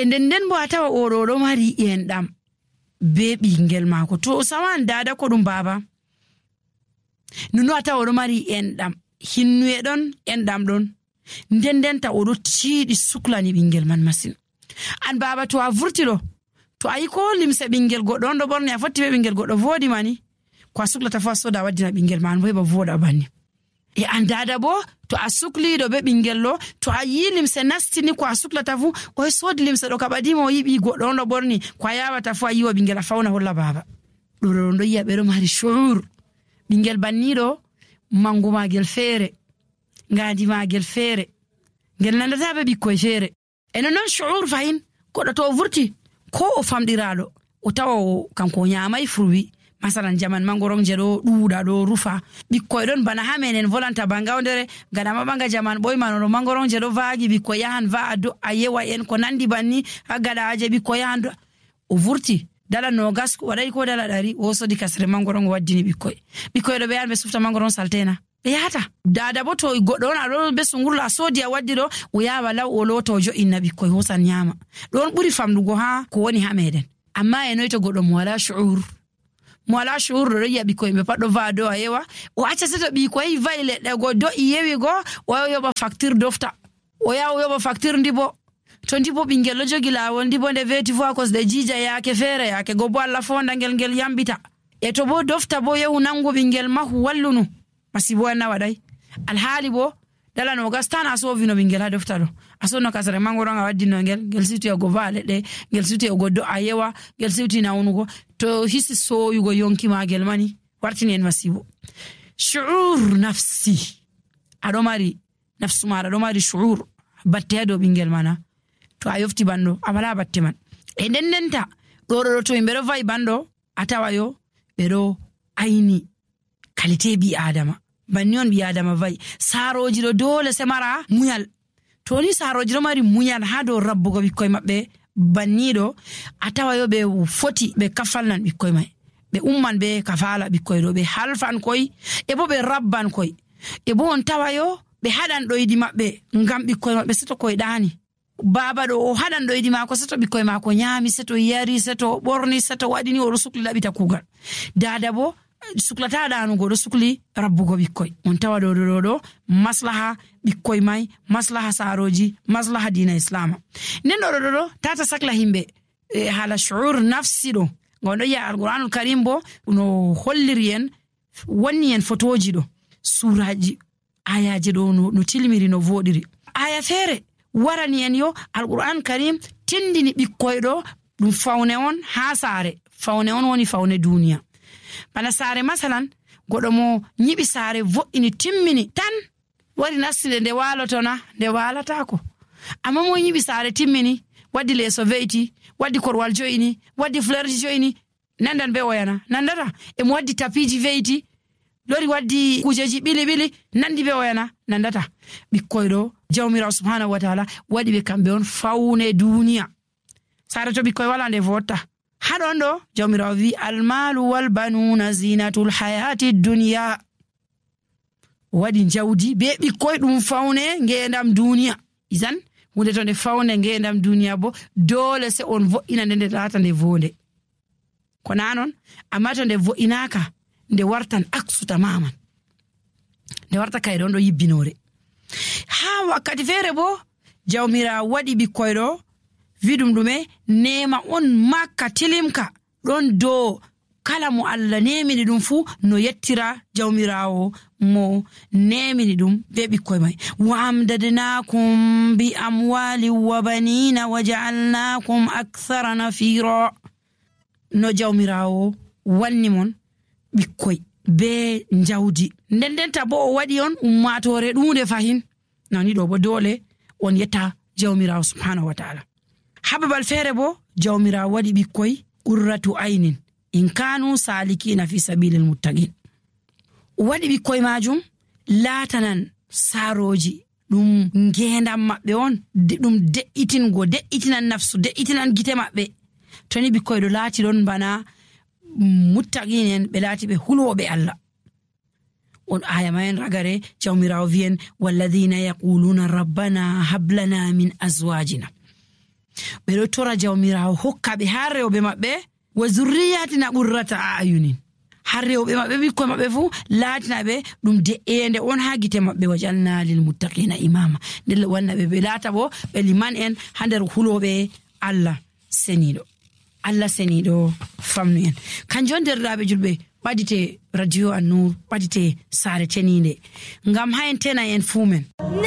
nden bo a tawa oɗo mari enɗam be ɓingel maako. To sawan dada ko ɗum baba nuno a tawa oɗo mari enɗam hinnuye ɗon enɗam ɗon ndendenta oɗo tiiɗi suklani ɓingel man masin. An baba to a vurti ɗo to a yi ko limse ɓingel goɗɗo on ɗo ɓorni a fotti be ɓingel goɗɗo voodi mani ko a suklata fu a soda a waddina ɓingel man bo heɓa voɗa banni. E an dada bo to a sukliɗo be ɓingel ɗo to a yi limse nastini ko a suklata fu o sodi limse ɗo kaɓadima o yiɓi goɗɗo on ɗo ɓorni ko a yawata fu a yiwa ɓingel a fawna holla baba. ɗo ɗo yiya ɓeɗo mari shuur. ɓingel banniɗo mangu magel feere, ngadi magel feere, ngel nandata be ɓikkoy feere. E non shuur fahin goɗɗo to o vurti ko o famɗiraɗo o tawa o kanko o nyamai furwi. Masalan jaman mangoron je ɗo ɗuuɗa ɗo rufa ɓikkoy ɗon bana ha menen volanta bangawdere gadama ɓanga jaman ɓoymanoɗo mangoron je ɗo vaagi ɓikkoy yahan va'a do'a yewa en ko nandi banni ha gaɗaje ɓikkoy yahan do o vurti dala nogas waɗai ko dala 100 o sodi kasre mangoron o waddini ɓikkoy ɗo ɓe yahan ɓe sufta mangoron saltena ɓe yahata. Dada bo to goɗɗo on aɗo be sungurlo a sodi a waddi ɗo o yawa law o lota o jo'inna ɓikkoy hosan nyama. ɗon ɓuri famdugo ha ko woni ha meɗen. Amma e noy to goɗɗo mo wala shuur ɗo yiya ɓikkoy ɓe pat ɗo va'a do a yewa o acca seto ɓikkoy va'i leɗɗe go do'i yewi go o yoɓa facture dofta o yaha o yoɓa facture ndibo to ndibo ɓingel ɗo jogi lawol ndibo nde veti fu a kosɗe jija yaake feere yaake go bo Allah fonda ngel yambita. E to bo dofta bo yehu nangu ɓingel mahu wallunu masibo en na waɗai. Alhaali bo dala nogas tan a sovino ɓingel ha dofta ɗo a sonno kasare mangoron a waddino ngel siwti o go va'a leɗɗe ngel siwti o go do'a yewa ngel siwti nawnugo to hisi soyugo yonki magel mani wartini en masibo. Shuur nafsi aɗo mari nafsu maɗa ɗo mari shuur batte ha dow ɓingel mana to a yofti banɗo a wala batte man. E ndendenta ɗo to yimɓe ɗo va'i banɗo a tawa yo ɓeɗo aini kalite ɓi adama banni on ɓi adama va'i. Saroji ɗo dole se mara muyal. To ni saroji ɗo mari muyal ha dow rabbugo ɓikkoy maɓɓe banniɗo a tawa yo ɓe foti ɓe kafalnan ɓikkoy mai ɓe umman ɓe kafala ɓikkoy ɗo ɓe halfan koy e bo ɓe rabban koy e bo on tawa yo ɓe haɗan ɗoydi maɓɓe ngam ɓikkoy maɓɓe seto koy ɗani. Baba ɗo o haɗan ɗoydi mako seto ɓikkoy mako nyami seto yari seto ɓorni seto waɗini oɗo sukli ɗaɓita kugal. Dada bo suklata ɗanugo ɗo sukli rabbugo ɓikkoy. On tawa ɗo maslaha ɓikkoy mai maslaha saroji maslaha dina islama. Nden ɗo tata sakla himɓe hala shuur nafsi ɗo gon ɗo yi'a alquranul karim bo no holliri en wanni en fotoji ɗo suraji ayaji ɗo no tilmiri no voɗiri. Aya feere warani en yo alquran karim tindini ɓikkoy ɗo ɗum fawne on ha saare. Fawne on woni fawne duniya. Bana saare masalan goɗo mo nyiɓi saare vo'ini timmini tan wari nastide nde walotona nde walatako. Amma mo nyiɓi saare timmini waddi leeso ve'iti waddi korwal jo'ini waddi flerji jo'ini nandan be oyana nandata. E mo waddi tapiji ve'iti lori waddi kujeji ɓili nandi be oyana nandata. Ɓikkoy ɗo jawmirawo subhanahu wa ta'ala waɗi ɓe kamɓe on fawne duniya. Saare to ɓikkoy wala nde votta haɗon ɗo jawmirawo wi almalu wal banuna zinatul hayati duniya. Waɗi jawdi be ɓikkoy ɗum fawne ngendam duniya. Izan hunde to nde fawne ngendam duniya bo dole se on vo'ina nde lata nde vonde ko nanon. Amma to nde vo'inaka nde wartan aksu tamaman nde warta kayɗon ɗo yibbinore. Ha wakkati feere bo jawmirawo waɗi ɓikkoy ɗo wiɗum ɗume nema on makka tilimka ɗon dow kala mo Allah nemini ɗum fu no yettira jawmirawo mo nemini ɗum be ɓikkoy mai. Wa amdadnakum bi amwali wa banina wa ja'alnakum akthara nafira. No jawmirawo wanni mon ɓikkoy be jawdi ndendenta bo o waɗi on ummatore ɗunde fahin. Nani ɗo bo dole on yetta jawmirawo subhanahu wa ta'ala. Ha babal feere bo jawmirawo waɗi ɓikkoy qurratu aynin in kanu salikina fi sabilil muttaqin. Waɗi ɓikkoy majum latanan saroji ɗum ngendam maɓɓe on ɗum de'itinan nafsu de'itinan gite maɓɓe. Toni ɓikkoy ɗo laati ɗon bana muttaqin en ɓe laati ɓe hulwoɓe Allah. On aya mayen ragare jawmirawo wiyen walladhina yaquluna rabbana hablana min azwajina. ɓe ɗo tora jawmirawo hokka ɓe har rewɓe maɓɓe wa zurriyatina ɓurrata ayunin, har rewɓe maɓɓe ɓikkoy maɓɓe fuu laatina ɓe ɗum de'ende on ha gite maɓɓe. wajalna lil muttaqina imama, nden wanna ɓe laata bo ɓe liman en ha nder huloɓe Allah seniɗo famnu en. kanjum on derɗiraɓe julɓe ɓadite radio An-Nur, ɓadite saare teninde ngam ha en tena en fuu men.